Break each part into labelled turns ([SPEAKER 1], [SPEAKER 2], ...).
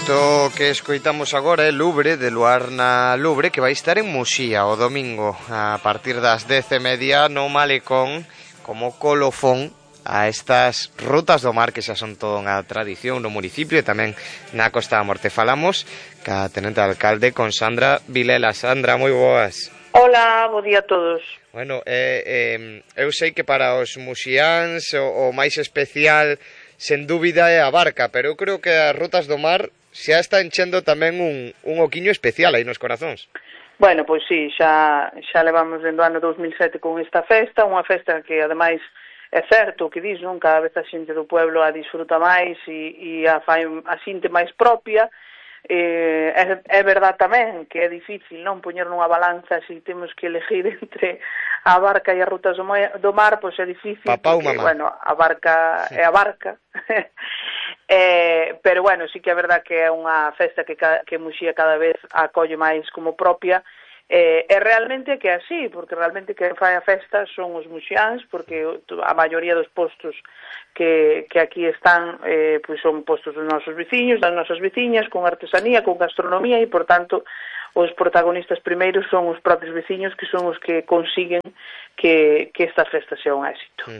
[SPEAKER 1] Isto que escoitamos agora é Lubre, de Luarna Lubre, que vai estar en Muxía o domingo a partir das 10:30 no Malecón como colofón a estas rutas do mar que xa son toda unha tradición no municipio e tamén na Costa da Morte. Falamos ca tenente alcalde con Sandra Vilela. Sandra, moi boas.
[SPEAKER 2] Hola, bo día a todos.
[SPEAKER 1] Bueno, eu sei que para os muxiáns o máis especial sen dúbida é a barca, pero eu creo que as rutas do mar xa está enchendo tamén un oquiño especial aí nos corazóns.
[SPEAKER 2] Bueno, pois sí, xa levamos dentro do ano 2007 con esta festa, unha festa que ademais é certo o que dis, non? Cada vez a xente do pueblo a disfruta máis e a fai a xente máis propia. É verdad tamén que é difícil non poñer nunha balanza se temos que elegir entre a barca e as rutas do mar, pois é difícil.
[SPEAKER 1] Papá
[SPEAKER 2] porque,
[SPEAKER 1] ou mamá?
[SPEAKER 2] bueno, a barca é a barca. Pero bueno, sí que é verdad que é unha festa que Muxía cada vez acolle máis como propia. E realmente que é así, porque realmente quen fai a festa son os muxiáns, porque a maioría dos postos que aquí están pois son postos dos nosos veciños, das nosas veciñas, con artesanía, con gastronomía, e por tanto os protagonistas primeiros son os propios veciños, que son os que consiguen que esta festa sea un éxito.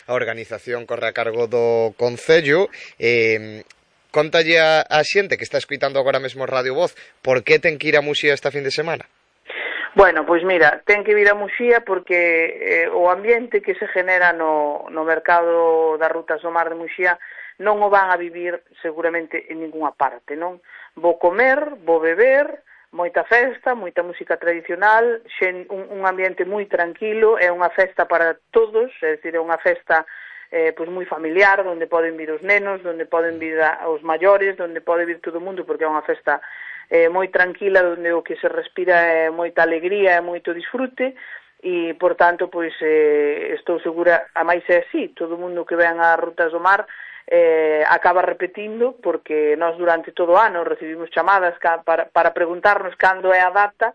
[SPEAKER 1] A organización corre a cargo do Concello. Contalle a xente que está escoitando agora mesmo Radio Voz por que ten que ir a Muxía esta fin de semana.
[SPEAKER 2] Bueno, pois mira, ten que vir a Muxía porque o ambiente que se genera no mercado das rutas do mar de Muxía non o van a vivir seguramente en ningunha parte, non? Vou comer, vou beber, moita festa, moita música tradicional, un ambiente moi tranquilo, é unha festa para todos, é dicir, é unha festa pois moi familiar, onde poden vir os nenos, onde poden vir os maiores, onde pode vir todo o mundo, porque é unha festa moi tranquila, onde o que se respira é moita alegría e moito disfrute, e, por tanto, pois, estou segura, a máis é así, todo o mundo que ven ás rutas do mar acaba repetindo, porque nós durante todo o ano recibimos chamadas para preguntarnos cando é a data,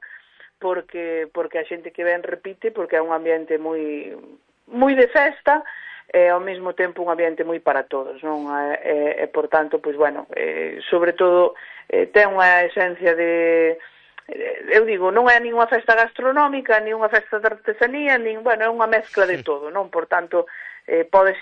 [SPEAKER 2] porque a xente que ven repite, porque é un ambiente moi de festa, e ao mesmo tempo un ambiente moi para todos, non? E por tanto, pois, bueno, sobre todo ten unha esencia de, eu digo, non é nin unha festa gastronómica, nin unha festa de artesanía, bueno, é unha mezcla de todo, non? Por tanto, podes ir